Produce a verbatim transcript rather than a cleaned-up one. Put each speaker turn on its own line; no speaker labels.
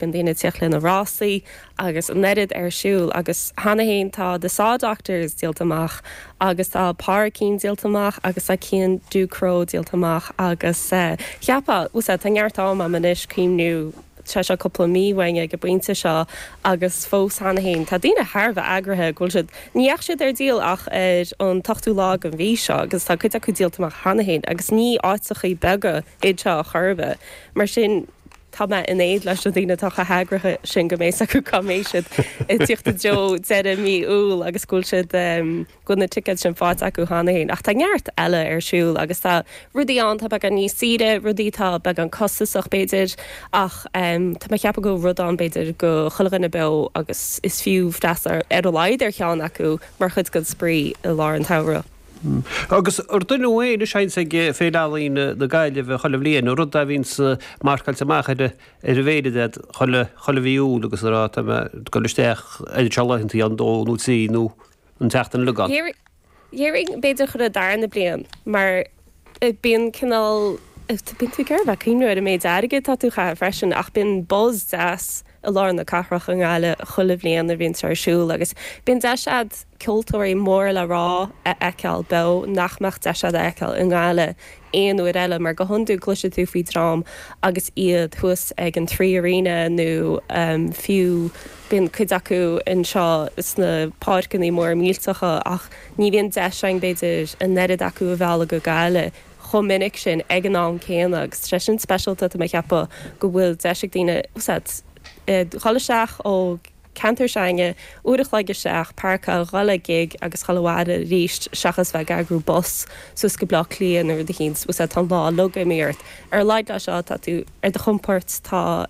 Bíonn daoine ag tíocht le na rásaí agus an oiread ar siúl agus cheana féin tá The Saw Doctors díolta amach agus tá Páraicín díolta amach agus tá Cian Ducrot díolta amach agus cheapfá tá neart ama anois cuimhniú tá sé cúpla mí uainn ag an bpointe seo agus fós cheana féin tá daoine thar a bheith eagraithe go bhfuil siad ní dheachaigh siad ar díol ach ar an t-ochtú lá den mhí seo agus tá cuid acu díolta amach cheana féin agus ní áiteachaí beaga iad seo a chor ar bith mar sin tá mé in éad leis na daoine atá chomh heagraithe sin go mbeidh acu cá mbeidh siad ag tíocht i dtreo deireadh mí Iúil agus go bhfuil siad go bhfuil na ticéid sin faighte acu cheana féin. Ach tá neart eile ar siúl agus tá rudaí ann tá beagán níos saoire, rudaí tá beagán costasach b'fhéidir ach tá mé ag ceapadh go bhfuil rud ann b'fhéidir go chuile dhuine beo agus is fiú freastal ar a laghad ar cheann acu mar chuid den spraoi i lár an tsamhraidh.
Agus ar duine amháin is seans ag Féile Ealaíon na Gaillimhe chuile bhliain, rud a bhíonns marcáilte amach ar an bhféilire agat chuile chuile mhí Iúil agus a rá tá mé ag dul isteach ar seo laethanta an dó nó trí nó an tseachtain uilig ann.
Dhéarfainn b'fhéidir chuile darna bliain mar bíonn cineál bíonn tú ag iarraidh bheith cuimhniú ar an méid airgid atá tú a chaitheamh freisin ach bíonn buzz deas i lár na cathrach i nGaillimh chuile bhliain a bhíonn sé ar siúl agus bíonn deis agat ceoltóirí mór le rá a fheiceáil beo nach mbeadh deis agat a fheiceáil i nGaillimh aon uair eile mar go hiondúil cloisfidh tú faoi dream agus iad thuas ag an Three Arena nó fiú bíonn cuid acu anseo sna páirceanna móra millteacha ach ní bhíonn deis againn b'fhéidir an oiread acu a mhealladh go Gaillimh chomh minic sin ag an am céanna agus tá sé sin speisialta tá mé ag ceapadh go bhfuil deis ag daoine dhul isteach ó ceantar s'againne, uair a chloig isteach, páirceáil, dhul ag gig agus dhul abhaile arís seachas bheith ag eagrú bus suas go Bleá Cliath nó rud eicínt, tá an lá uilig imithe ort. Ar a laghad leis seo tá tú ar do chompord, tá.